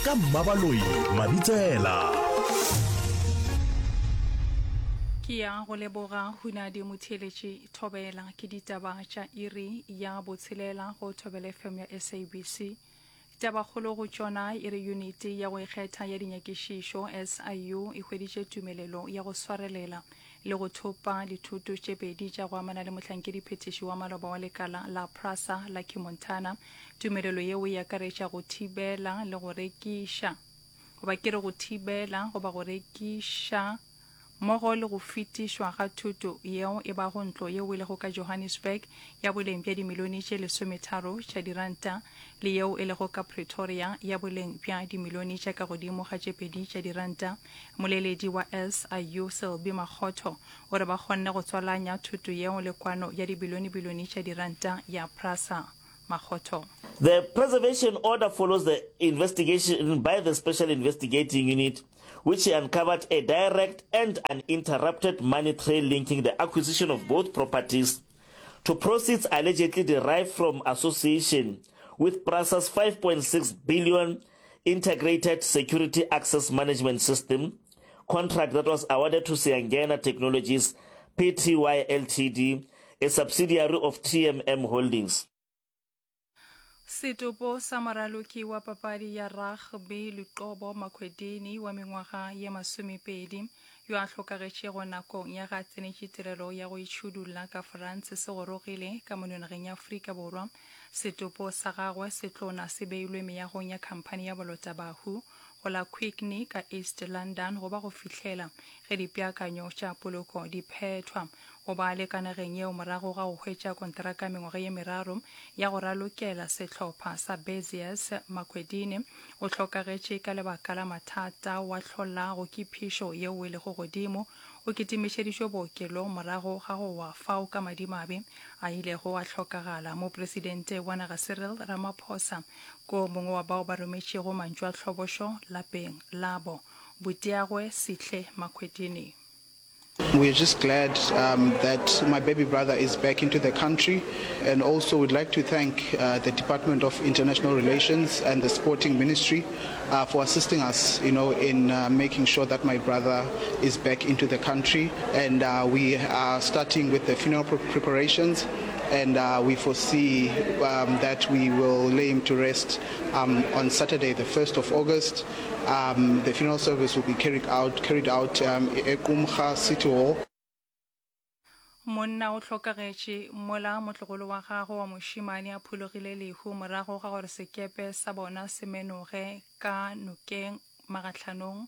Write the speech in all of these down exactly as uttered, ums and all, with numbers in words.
Ka Mmabaloi Mabitsela. Ke ya go leboga Hunadi Motheeletši Thobela ke ditaba tša iri ya botshelela go Thobela F M ya S A B C. Tabakgolo go tšona e re Yuniti ya go Ikgetha ya Dinyakišišo, S I U, e hweditše tumelelo ya go swarelela le go thopa dithoto tše pedi tša go amana le mohlankediphethiši wa maloba wa lekala la Prasa, Lucky Montana. Tumelelo yeo e akaretša go thibela le go rekiša, goba ke re go thibela goba go rekiša mmogo le go fetišwa ga thoto yeo e bago ntlo yeo e lego ka Johannesburg ya boleng bja dimilione tše lesometharo tša diranta le yeo e lego ka Pretoria ya boleng bja dimilione tša ka godimo ga tše pedi tša diranta. Moleledi wa S I U Selby Makgotho o re ba kgonne go tswalanya thoto yeo le kwano ya dibilionebilione tša diranta ya Prasa. Makgotho. The preservation order follows the investigation by the Special Investigating Unit, which uncovered a direct and uninterrupted money trail linking the acquisition of both properties to proceeds allegedly derived from association with PRASA's five point six billion Integrated Security Access Management System contract that was awarded to Siyangena Technologies P T Y L T D, a subsidiary of T M M Holdings. Setopo sa moraloki wa papadi ya rugby Luqobo Makwedini wa mengwaga ye masomepedi yo a hlokagetšego nakong ya ga tsenetše tirelo ya go itšhudulla ka France se gorogile ka mono nageng ya Afrika Borwa. Setopo sa gagwe se tlona se beilwe meagong ya khamphani ya bolotabahu go la Quigney ka East London go ba go fihlela ge dipeakanyo tša poloko di phethwa. O ba le ka nageng yeo morago ga go hwetša konteraka mengwaga ye meraro ya go ralokela sehlopha sa Beziers. Makwedini o hlokagetše ka lebaka la mathata wa hlolago ke phišo yeo e lego godimo. O kitimišeditšwe bookelong morago ga go wa fao ka madimabe a ilego a hlokagala. Mopresidente wa naga Cyril Ramaphosa ko mongwe wa bao ba rometšego mantšu a tlhobošo lapeng labo butiagwe Sihle Makwedini. We're just glad um, that my baby brother is back into the country, and also we'd like to thank uh, the Department of International Relations and the Sporting Ministry uh, for assisting us, you know, in uh, making sure that my brother is back into the country. And uh, we are starting with the funeral pre- preparations, and uh, we foresee um, that we will lay him to rest um, on Saturday, the first of August. Um, the funeral service will be carried out carried out um, at Qumrha City Hall. Monna o hlokagetše mola motlogolo wa gagwe wa mošemane a phologile lehu morago ga gore sekepe sa bona se menoge ka nokeng magahlanong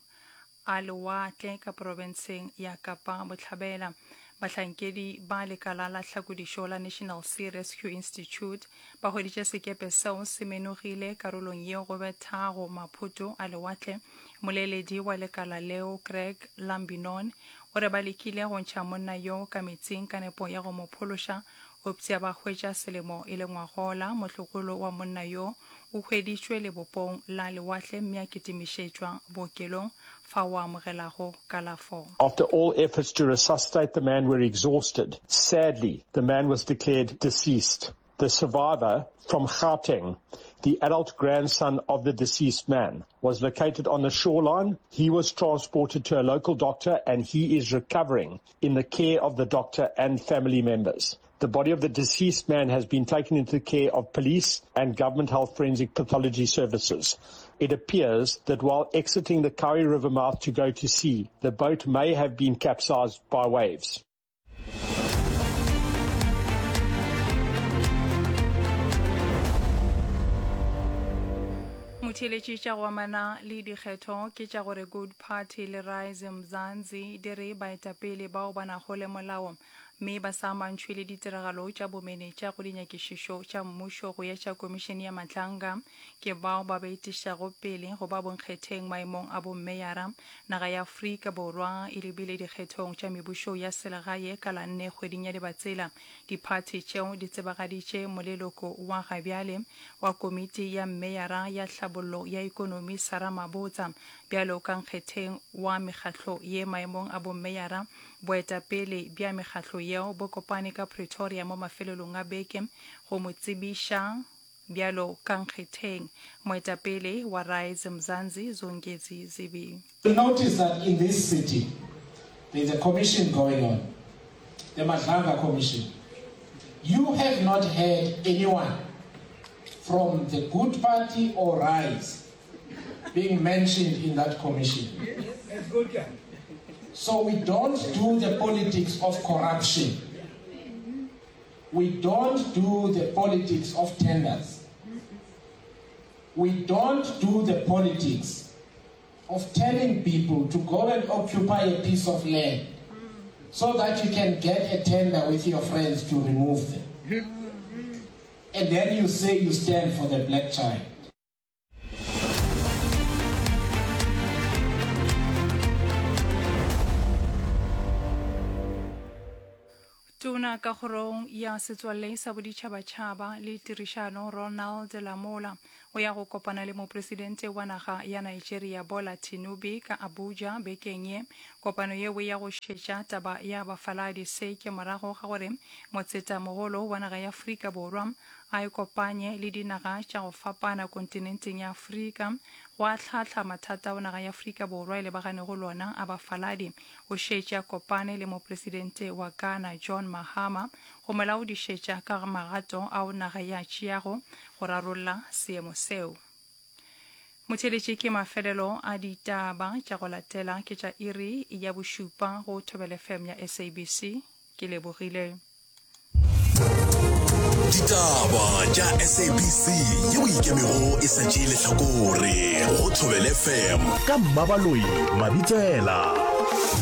a lewatle ka profenseng ya Kapa Bohlabela. Bahlankedi ba lekala la tlhakodišo la National Sea Rescue Institute ba hweditše sekepe seo se menogile karolong yeo go bethago maphoto a lewatle. Moleledi wa lekala leo Greg Lambinon o re ba lekile go ntšha monna yo ka metsing ka nepo ya go mo phološa opša ba hwetša selemo e le ngwagola. Motlogolo wa monna yo o hweditšwe lebopong la lewatle mme a kitimišetšwa bookelong fa o amogelago kalafo. After all efforts to resuscitate the man were exhausted, sadly, the man was declared deceased. The survivor from Gauteng, the adult grandson of the deceased man, was located on the shoreline. He was transported to a local doctor and he is recovering in the care of the doctor and family members. The body of the deceased man has been taken into the care of police and government health forensic pathology services. It appears that while exiting the Kowie River mouth to go to sea, the boat may have been capsized by waves. Motheeletši, tša go amana le dikgetho ke tša gore Good Party le Rise Mzansi di re baetapele bao ba nago le molao mme ba sa amantšhwe le ditiragalo tša bomenetša go dinyakišišo tša mmušo go etša komišene ya Madlanga ke bao ba ba etišago pele go ba bonkgetheng maemong a bommeyara. Naga ya Afrika Borwa e lebile dikgethong tša mebušo ya selegae ka la nne kgweding ya Dibatsela. Diphathi tšeo di tsebagaditše moleloko wa gabjale wa komiti ya mmeyara ya tlhabollo ya ikonomi Sarah Mabotsa bjalo ka nkgetheng wa mekgatlo ye maemong a bommeyara. Boetapele bja mekgatlo yeo bo kopane ka Pretoria mo mafelelong a beke go mo tsebiša. bjalo ka nkgetheng. Moetapele wa Rise Mzansi Zongezi Zibi. You'll notice that in this city, there's a commission going on, the Madlanga Commission. You have not heard anyone from the Good Party or Rise being mentioned in that commission. So we don't do the politics of corruption. We don't do the politics of tenders. We don't do the politics of telling people to go and occupy a piece of land so that you can get a tender with your friends to remove them. And then you say you stand for the black child. Tona ka kgorong ya Setswalle sa Boditšhabatšhaba le Tirišano Ronald Lamola o ya go kopana le Mopresidente wa naga ya Nigeria Bola Tinubi ka Abuja bekeng ye. Kopano yeo e ya go šetša taba ya bafaladi. Se ke morago ga gore motsetamogolo wa naga ya Afrika Borwa a ikopanye le dinaga tša go fapana kontinenteng ya Afrika go ahlaahla mathata ao naga ya Afrika Borwa e lebaganego lona a bafaladi. O šetše a kopane le Mopresidente wa Ghana John Mahama go mo laodišetša ka magato ao naga e a tšeago go rarolla seemo seo. Motheeletši ke mafelelo a ditaba tša go latela ke tša iri ya bošupa go Thobela F M ya S A B C. Ke lebogile. Ditaba tša S A B C yeo e ikemego e sa tšee lehlakore go Thobela F M ka Mmabaloi Mabitsela.